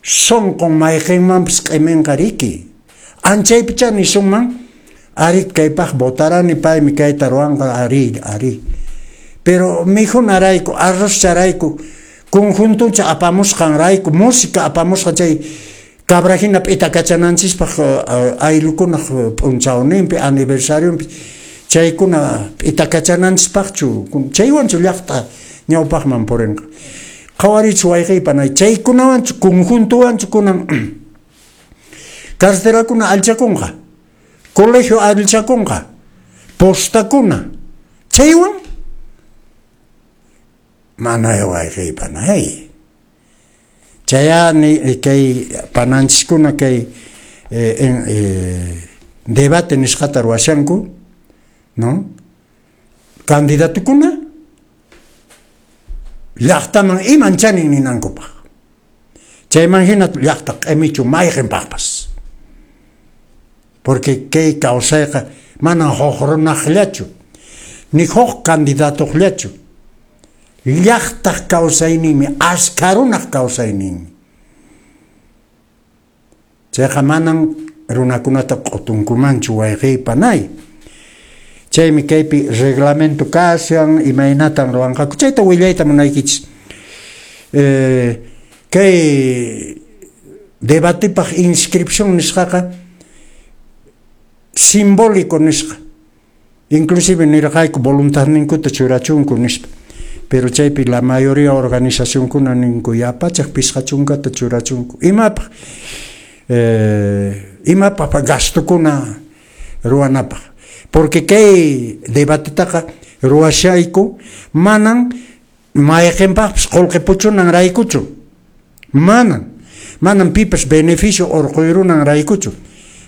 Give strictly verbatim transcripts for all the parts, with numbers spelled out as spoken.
Sunqun mayqinmanpas q'iminqa riki. Anchaypichá nisunman, ari kaypaq votarani, paymi kayta ruwanqa, ari, ari. Pero mikhunarayku, arrozcharayku, conjuntuncha apamusqanrayku, música apamusqa chay cabra hina p'itakachananchispaq ayllukunaq p'unchawninpi, aniversarionpi, chaykuna p'itakachananchispaqchu, chaywanchu llaqta ñawpaqman purinqa. Qhawarichu wayqiypanay, chaykunawanchu, conjuntowanchu kunan carreterakuna allchakunqa, colegio allchakunqa, postakuna, chaywan mana wayqiypanay. Chayani kay pananchiskuna kay eh, en, eh, debate nisqata ruwashanku, ¿no? Candidatukuna llaqtaman iman chanin ninankupaq. Chayman hina llaqta q'imichu mayqinpaqpas. Porque kay kawsayqa manan huk runaqllachu, ni huk candidatuqllachu. Llaqtaq kawsayninmi, askha runaq kawsayninmi. Chayqa manan runakunata q'utunkumanchu wayqiypanay. Chaymi kaypi reglamento kashan, imaynatan ruwanqaku. Chayta willayta munaykichis. Eh, kay debatepaq inscripción nisqaqa simbólico nisqa. Inclusive nirqayku voluntadninkuta churachunku nispa. Pero chaypi la mayoría organizacionkuna ninku yapachaq pisqa chunkata churachunku. Imapaq eh, imapaq gastukuna ruwanapaq. Porque kay debatetaqa ruwashayku manan mayqinpaqpas qullqi puchunan raykuchu. Manan. Manan pipas beneficio urquyrunan raykuchu.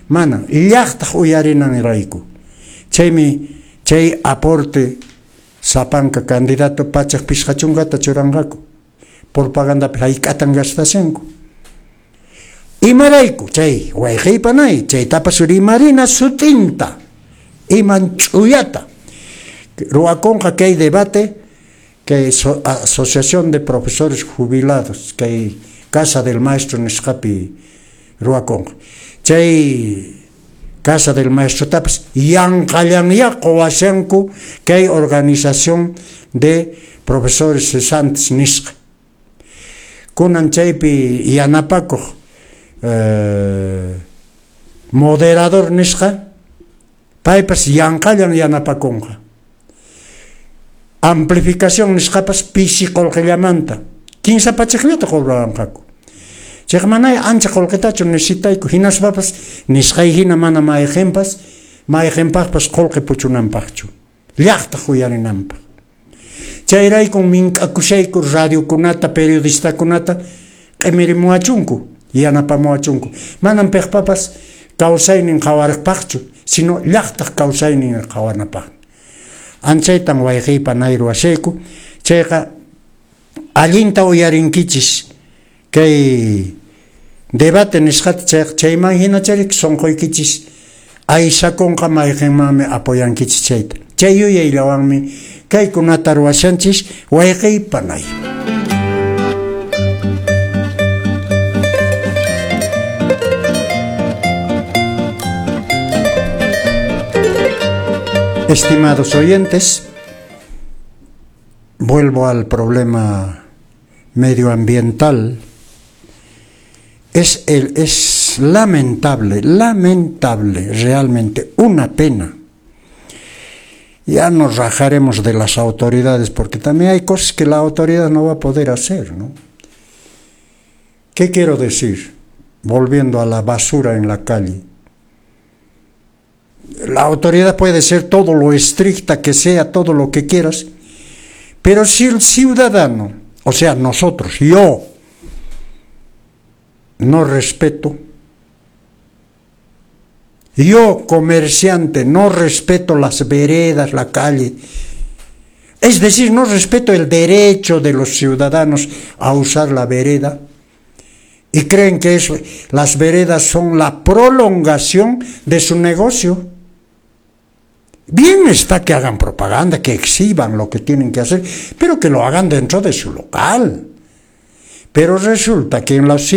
Manan. Llaqtaq uyarinan rayku. Chaymi chay aporte sapanka candidato pachaq pisqa chunkata churanqaku. Propagandapi hayk'atan gastashanku. Imarayku chay wayqiypanay, chaytapas rimarina sutinta, iman ch'uyata. Ruwakunqa kay debate kay so, Asociación de Profesores Jubilados, kay Casa del Maestro nisqapi ruwakunqa. Chay Casa del Maestro tapas yanqallanya quwashanku kay organización de profesores cesantes nisqa. Kunan chaypi yanapakuq eh, moderador nisqa, paypas yanqallan yanapakunqa. Amplificación nisqapas pisi qullqillamanta kinsa pachakllata cobraranqaku. Chayqa manay ancha qullqitachu necesitayku, hinaspapas nisqay hina mana mayqinpas mayqinpaqpas qullqi puchunanpaqchu, llaqtaq uyarinanpaq. Chayraykun mink'akushayku radiokunata, periodistakunata q'imirimuwachunku, yanapamuwachunku. Manan piqpapas kawsaynin qhawaripaqchu, sino llaqtaq kawsaynin qhawanapaq. Anchaytan wayqiypanay ruwashayku. Chayqa allinta uyarinkichis kay debate nisqata, chayqa chayman hina charik sunquykichis aysakunqa mayqinmanmi apoyankichis chayta. Chay yuyayllawanmi kaykunata ruwashanchis wayqiypanay. Estimados oyentes, vuelvo al problema medioambiental. Es, el, es lamentable, lamentable, realmente una pena. Ya nos rajaremos de las autoridades, porque también hay cosas que la autoridad no va a poder hacer, ¿no? ¿Qué quiero decir? Volviendo a la basura en la calle. La autoridad puede ser todo lo estricta que sea, todo lo que quieras, pero si el ciudadano, o sea, nosotros, yo, no respeto, yo, comerciante, no respeto las veredas, la calle, es decir, no respeto el derecho de los ciudadanos a usar la vereda, y creen que eso, las veredas son la prolongación de su negocio. Bien está que hagan propaganda, que exhiban lo que tienen que hacer, pero que lo hagan dentro de su local. Pero resulta que en los